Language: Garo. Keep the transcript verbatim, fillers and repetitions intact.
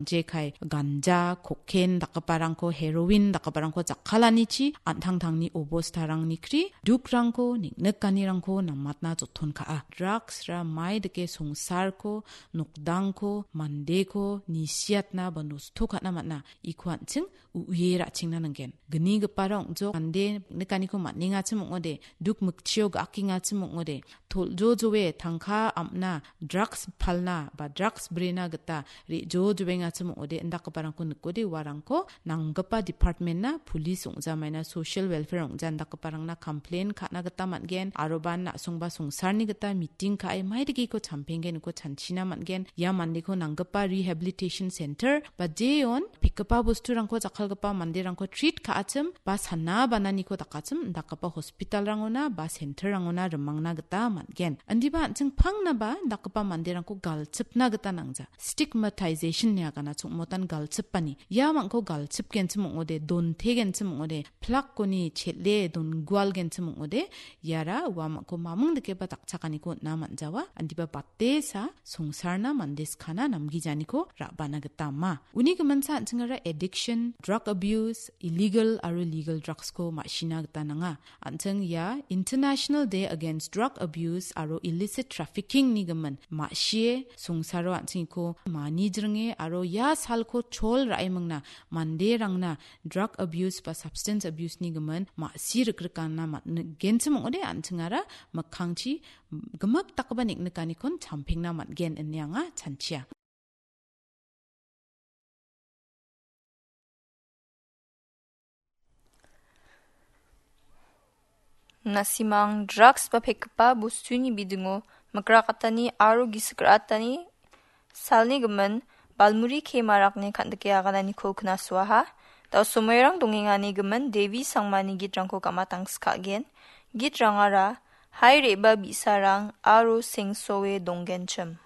Jekai ganja, koken dakgiparangko, heroin dakgiparangko jakkalanichi an·tangtangni obostarangni kri dukrangko, niknikanirangko namatna joton ka·a. Drugs-ra mai dake songsarko, nokdangko, mandeko nisiatna ba nosto ka·na man·a. Iko an·ching u-, u·ie ra·chengna nanggen. Gnigipara ong·jok, mande nikaniko man·engachim ong·ode, duk mikchio ga·akengachim ong·ode, tol·jojoe tangka am·na, drugs palna ba drugs brena gita re·jojoengachim ong·ode, indakgiparangko nikode uarangko nanggipa department-na, police ong·jamaina, social welfare ong·ja indakgiparangna complain ka·na gita man·gen, aroban na·songba songsarni gita meeting ka·e maidageko champenggen, uko chanchina man·gen. Ia mandeko nanggipa rehabilitation center ba jeon pekgipa bosturangko jakkalgipa manderangko treat ka·achim ba sana bananiko dakachim indakgipa hospitalrangona ba centerrangona rimangna gita man·gen. Indiba an·ching pangnaba indakgipa manderangko galchipna gita nangja. Stigmatization ine agana chongmotan galchipani. Ia mangko galchipgenchim ong·ode, dontegenchim ong·ode, plakoni chel·e dongualgenchim ong·ode, iara uamangko maming dikeba dakchakaniko on·a man·jawa. Indiba batesa songsarna mande skana namgijaniko ra·bana gita ama. Uni giminsa an·chingara addiction, drug abuse, illegal aro legal drugs-ko ma·sina gita nanga. An·ching ia International Day Against Drug Abuse aro Illicit Trafficking-ni gimin ma·sie songsaro an·chingko manijringe aro ia salko chol ra·emingna manderangna drug abuse ba substance abuse-ni gimin ma·si rikrikana man-, genchim ong·ode an·chingara mikkangchi gimik dakgipa niknikanikon champengna man·gen ine anga chanchia. Na·simang drugs ba pekgipa bostuni bidingo mikrakatani aro gisik ra·atani salni gimin Balmuri K Marakni kan·dike agananiko knasuaha. Da·o somoirang dongengani gimin Devi Sangmani gitrangko gamatangska gen. Gitrangara Hai Re·ba Bi·sarang aro Sengsoe Donggenchim.